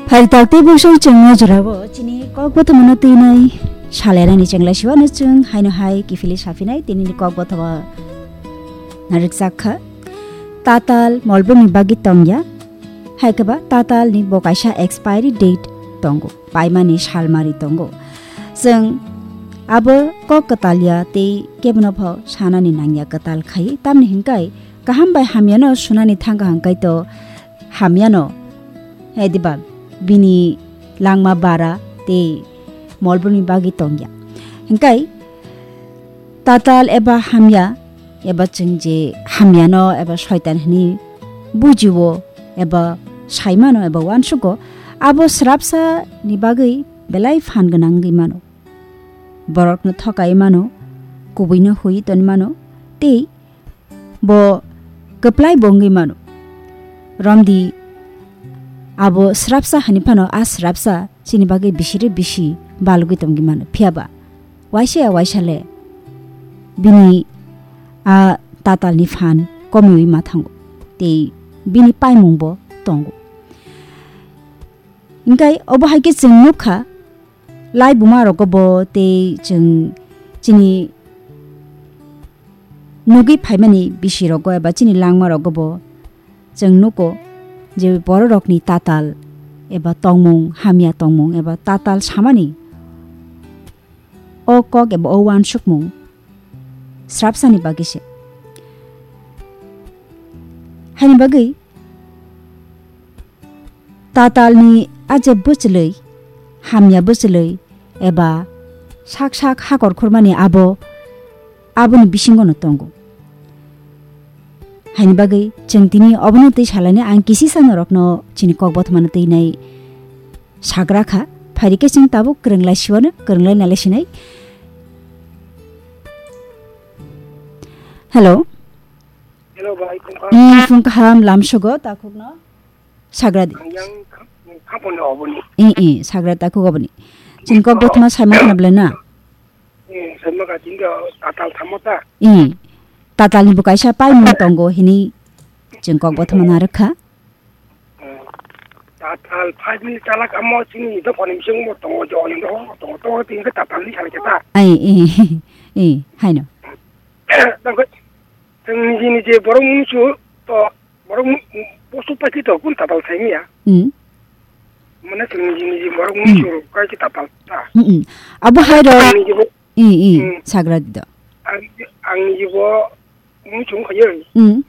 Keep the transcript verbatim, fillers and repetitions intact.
Phai tak tei bwswk chwngno jorabo chini kok bothomano twinai salerani chwnglaisiwano chwng haino hai kiphilwi saphinai tinini kok bothoma narwkjak kha. Tatal molbrumni bagwi tongya, hai khe ba tatalni bo kaisa expiry date tongo, paimani salmari tongo. Chwng abo kok kwtalya tei kebono pho sanani nangya kwtal khai, tamni hwnkhai kaham bai hamyano sunani thangkha hwnkhe to hamyano, hai diba bini langma bara tei molbrumni bagwi tongya. Hwnkhe tatal eba hamya, eba chwng je hamyano eba soitan hwnwi bujio eba saimano eba uansugo, abo srapsa ni bagwi belai phan gwnang wngwi mano. Borokno thokai mano, kubuino hui toni mano, tei bo kwplai bo wngwi mano. Romdi abo srapsa hani phano a srapsa chini bagwi bisiri bisi balugwi tongwi mano. Phiya ba waisa ya waisa le bini a tatalni phan komiwi ma thango. Tei bini paimung bo tongo. Hingkai obo hai khe chwng nukha, lai buma rogo bo tei chwng chini nugwi phaimani bisi rogo eba chini langma rogo bo chwng nugo je bororokni tatal eba tongmung, hamya tongmung eba tatal samani o kok eba o uansukmung srapsani bagwi se. Haini bagwi tatalni a je bwchwlwi, hamya bwchwlwi eba sak sak hakor khormani abo, aboni bisingono tongo. Haini bagwi chwng tini obono twi salainai ang kisisa norokno chini kok bothomano twi nai sagra kha. Phairi khe chwng tabuk kwrwnglai siwano, kwrwnglai nalai sinai. Hello. Hello, bai, phung kaham. Hmm, phung kaham, lamsogo, takhukno. Sagra di. Ang yang kha-, khaphang ni oboni. Eh, eh, sagra takhuk oboni. Chini kok bothoma saimang khna belai na? Eh, saimang kha chini do tatal thamo ta. Eh, tatal ni bo kaisa paimung tongo hini chini kok bothoma narwk kha. Eh, tatal five minute chalak amo chini do phone bising mo tongo jo ni do tongo to tin khe tatal ni salai khe ta. Ai, eh, eh, haino. Tangkhe chwng niji niji borok mungsu to borok mu-, posu paikhe to kun tatal saimiya. Hmm. Mane chwng niji niji borok Hmm. mungsu kai khe tatal ta. Hmm, hmm. Abo hai rok. Ang niji bo, Eh, eh, Hmm. sagra di do. Ang, ang niji bo mungsu wngkha ye. Hmm.